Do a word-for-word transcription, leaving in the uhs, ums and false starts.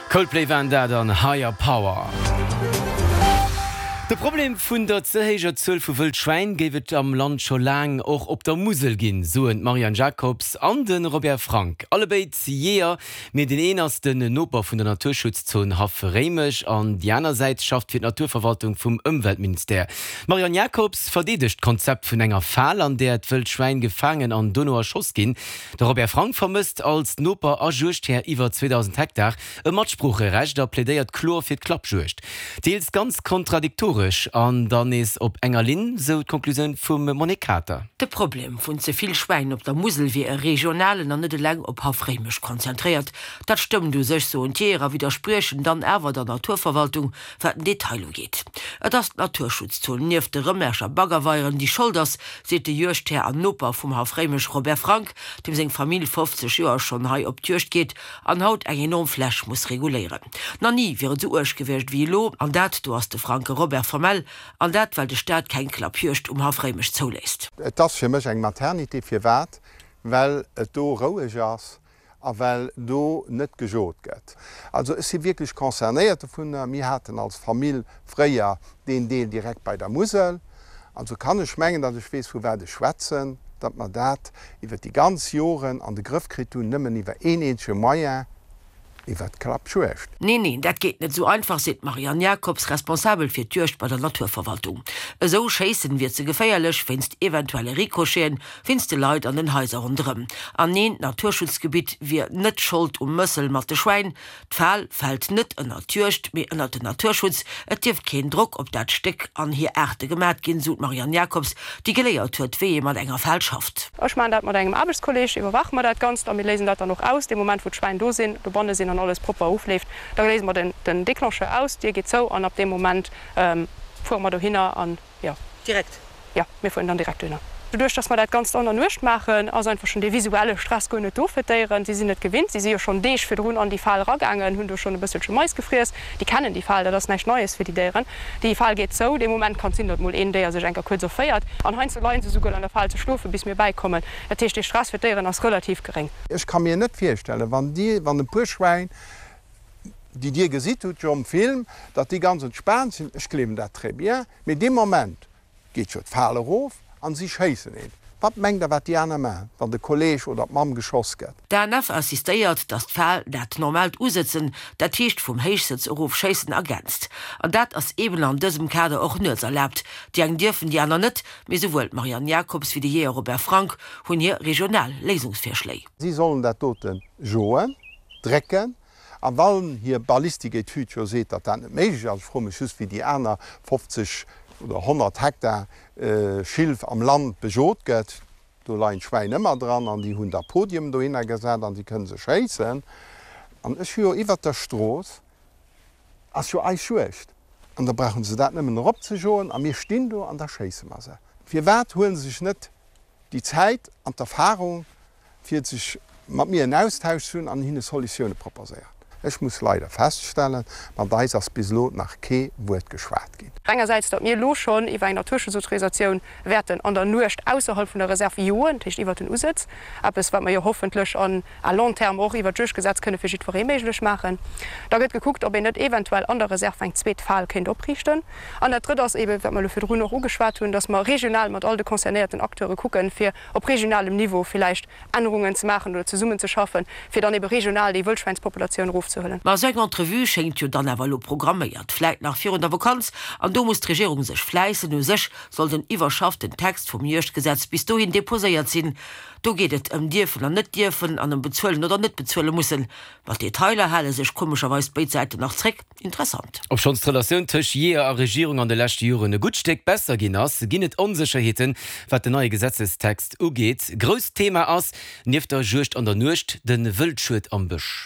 Coldplay waren dat an Higher Power. De Problem vun der ze héijer Zuel vu Wëllschwäin géif et am Land scho laang och op der Musel ginn, soen d'Marianne Jacobs an de Robert Frank. Allebéid Jeeër, mee deen een ass den Noper vun der Naturschutzzon Haff Réimech an déi aner Säit schafft fir d'Naturverwaltung vum Ëmweltministère. D'Marianne Jacobs verdeedegt d'Konzept vun enger Fal, an där d'Wëllschwäin gefaangen an dono erschoss ginn. De Robert Frank vermësst als Noper a Juegdhär iwwer zweedausend Hektar e Matsproocherecht a plädéiert kloer fir d'Klappjuegd. Deels ganz kontradiktoresch an dann nees op enger Linn, sou d'Konklusioun vum Monique Kater. De Problem vun ze vill Schwäin op der Musel wier e regionalen an net eleng op Haff Réimech konzentréiert. Dat stëmmt u sech, soen d'Jeeër a widderspriechen dann awer der Naturverwaltung, wat den Detail ugeet. Et ass d'Naturschutzzon nieft de Rëmerscher Baggerweieren, déi Schold ass, seet de Juegdhär an Noper vum Haff Réimech Robert Frank, deem seng Famill fofzeg Joer schonn hei op d'Juegd geet an haut eng enorm Fläch muss reguléieren. Nach ni wier et esou uerg gewiescht wéi elo, an dat, do ass de Franke Robert formell, an dat well de Staat keng Klappjuegd um Haff Réimech zouléisst. Et ass fir mech eng Maternité. Firwat? Well et do roueg ass a well do net gejot gëtt. Also ech si wierklech concernéiert dovunner. Mir haten als Famill fréier deen Deel direkt bei der Musel. Also kann ech mengen, datt ech weess, vu wat ech schwätzen, datt mer dat iwwer déi ganz Joren an de Grëff kritt hunn, nëmmen iwwer een eenzege Moyen, iwwer d'Klappjuegd. Neen, neen, dat geet net esou einfach, seet d'Marianne Jacobs, responsabel fir d'Juegd bei der Naturverwaltung. Esou schéissen wier ze geféierlech, wéinst eventuelle Ricocheten, wéinst de Leit an den Haiser ronderëm. An neen, d'Naturschutzgebitt wier net Schold um Mëssel mat de Schwäin. D'Fal fält net ënnert d'Juegd, mee ënnert den Naturschutz. Et dierft keen Drock op dat Stéck an hir Aarte gemat ginn, sou d'Marianne Jacobs, déi geléiert huet, wéi ee mat enger Fal schafft. Ech maachen dat mat engem Aarbechtskolleeg, iwwerwaache mer dat Ganzt a mir léisen dat dann och aus. Dee Moment, wou d'Schwäin do sinn, dobanne sinn an alles propper ofleeft, da léise mer den Declencheur aus, d'Dier geet zou an ab deem Moment fuere mer dohinner an jo. Direkt? Jo, mir fueren dann direkt dohinner. Doduerch, dass mer dat Ganzt an der Nuecht maachen, ass einfach schonn dee visuelle Stress guer net do fir d'Déieren. Si sinn et gewinnt, si si jo schonn Deeg virdrun an déi Fal eragaangen, hunn do schonn e bësselche Mais gefriess. Déi kennen déi Fal, dat ass näischt Neies fir déi Déieren. Déi Fal geet zou, dee Moment kann et sinn, datt mol een Déier sech eng Kéier kuerz erféiert. An heiansdo leie se souguer an der Fal ze schlofen, bis mir bäikommen. Dat heescht, dee Stress fir d'Déieren ass relativ geréng. Ech ka mir net virstellen, wann Dir, wann e puer Schwäin, déi Dir gesitt hutt jo am Film, datt déi ganz entspaant sinn, ech gleewen dat très bien, mee dee Moment geet jo d'Fal erof an si schéissen een. Wat mengt Der, wat déi aner maachen, wann de Kolleeg oder d'Mamm geschoss gëtt? D'ANF insistéiert, datt d'Fal dat normaalt Usëtzen, dat heescht vum Héichsëtz erof schéissen, ergänzt. An dat ass eeben an dësem Kader och nuets erlaabt. Déi eng dierfen, déi aner net. Mee souwuel d'Marianne Jacobs wéi de Jeeër Robert Frank hunn hir regional Léisungsvirschléi. Si sollen dat dote joen, drécken, A wann hir Ballistiketüd jo seet, datt dat net méiglech ass, ech froe mech just, wéi déi aner fofzeg oder honnert Hektar Schilf am Land bejot gëtt, do leien d'Schwäin ëmmer dran an déi hunn da Podiumen dohinner gesat an déi kënne se schéissen. An ech hu jo iwwert der Strooss ass jo eis Juegd an da brauche se dat nëmmen eropzejoen a mir stinn do an da schéisse mer se. Firwat huele se sech net déi Zäit an d'Erfahrung, fir sech mat mir en Austausch ze hunn an hinne Solutioune proposéieren. Ech muss leider feststellen, mat eis ass bis elo nach kee Wuert geschwat ginn. Engersäits, datt mir elo schonn iwwer eng Naturschutzautorisatioun wäerten an der Nuecht ausserhalb vun der Reserv joen, dat heescht iwwert den Usëtz, eppes wat mer jo hoffentlech an à long terme och iwwert d'Juegdgesetz kënne fir jiddweree méiglech maachen. Da gëtt gekuckt, ob een net eventuell an der Reserv eng zweet Fal kéint opriichten. An dat Drëtt ass eeben, wat mer elo virdrun och ugeschwat hunn, datt mer regional mat all de concernéierten Acteure kucken, fir op regionalem Niveau villäicht Ännerungen ze maachen oder zesummenzeschaffen, fir dann ebe regional déi Wëllschwäinspopulatioun erofzehuelen. Ma esou eng Entrevue schéngt jo dann awer elo programméiert, vläit nach virun der Vakanz, an do muss d'Regierung sech fläissen. U sech soll den iwwerschafften Text vum Juegdgesetz bis dohin deposéiert sinn. Do geet et ëm dierfen an net dierfen an ëm bezuelen oder net bezuele mussen. Mat Detailer hale sech komescherweis béid Säiten nach zréck. Interessant. Obschonns d'Relatioun tëscht Jeeër a Regierung an de leschte Joren e gutt Stéck besser ginn ass, ginn et Onsécherheeten, wat den neie Gesetzestext ugeet. Grousst Thema ass, nieft der Juegd an der Nuecht, de Wëldschued am Bësch.